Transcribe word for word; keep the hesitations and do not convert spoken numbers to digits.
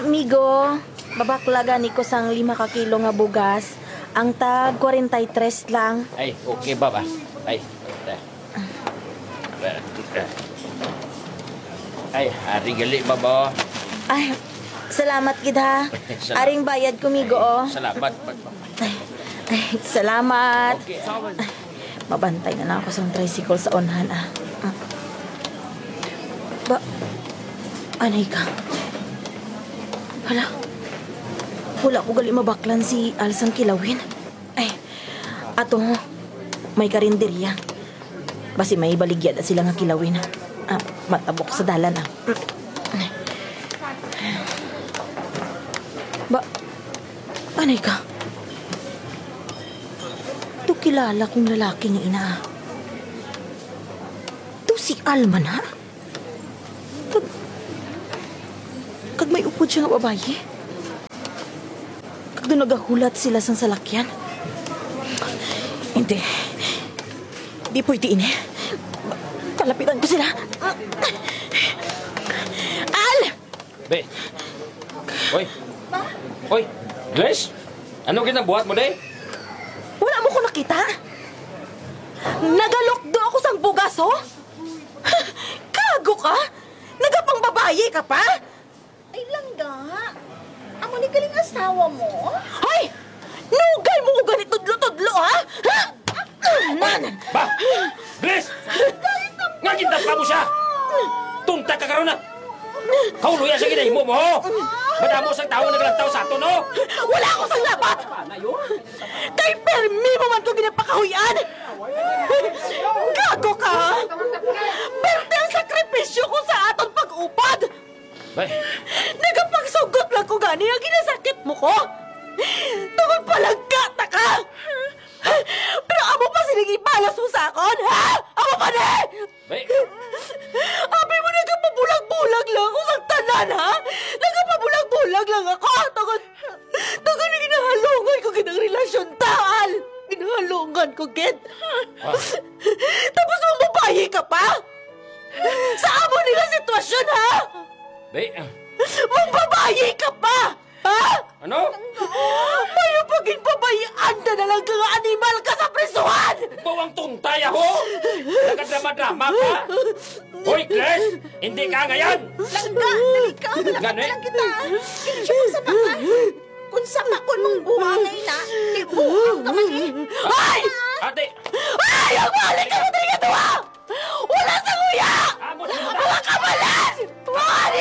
Migo, babakla gani ko sang lima ka kilo nga bugas. Ang tag kwarenta y tres lang. Ay, okay, baba. Ay, ay, ari gali, baba. Ay, salamat gid, ha. Salamat. Aring bayad ko, Migo, oh. Salamat. Ay, ay, salamat. Okay. Ay, mabantay na lang ako sa tricycle sa unhan, ah. Ah. Ba, anay ka? Hala, wala ko gali mabaklan si Al sang kilawin. Ay, ato, may karinderya. Basi may baligya na sila nga kilawin. Ah, matabok sa dalan, ah. Ba, anay ka? To kilala kong lalaki nga ina. To si Alma na? Kag, kag may upod siya nga babayi. Kag doon nagahulat sila sang salakyan. Hindi. Di pwede ini. Palapitan ko sila. Al! Be. Hoy. Hoy. Grace? Ano ginabuhat mo, day? Wala mo ko nakita? Nagalukdo ako sang bugas, oh! Gago ka! Nagapangbabayi ka pa? Ay, langga. Amo ni galing asawa mo? Hoy! Nugay mo ko gani tudlo-tudlo, ha? Ha? Man! Ba! Grace! Nga gindapa mo siya! Tunta ka karon na! Kauloy sa ginahimo mo, ho! Madamo sang tawo naglantaw sa aton, ho! Wala ako sang labat! Kay permi mo man ko ginapakahuy-an! Gago ka! Perte ang sakripisyo ko sa aton pag-upod! Bay. Nagapagsugot lang ko gani nga ginasakit mo ko. Tungod palangga ta ka. Pero amo pa sining ibalas mo sa akon, ha? Amo pa ni? Bay. Abi mo, nagapabulag-bulag lang ako sa tanan, ha? Nagapabulag-bulag lang ako. Tungod, tungod nga ginahalungan ko gid ang relasyon ta, Al. Ginahalungan ko gid. Ah. Tapos mambabayi ka pa? Sa amo ni nga sitwasyon, ha? Be, ah. Mambabayi ka pa! Ha? Ano? Mayo pa gid pabayaan na lang ka nga animal ka sa prisuhan! Bawang tuntaya, ho! Nagadrama-drama ka? Hoy, Claire! Hindi ka ngayon! Langga, dali ka! Malapit Gani? na lang kita! Hindi siya magsama ka! Kung sama ko mong buhangay na, di buhang ka man eh! Ay! Ate! Ay! Ang balik ka na talaga to, ah! Wala sa kuya! Amo sa mga Mga kabala!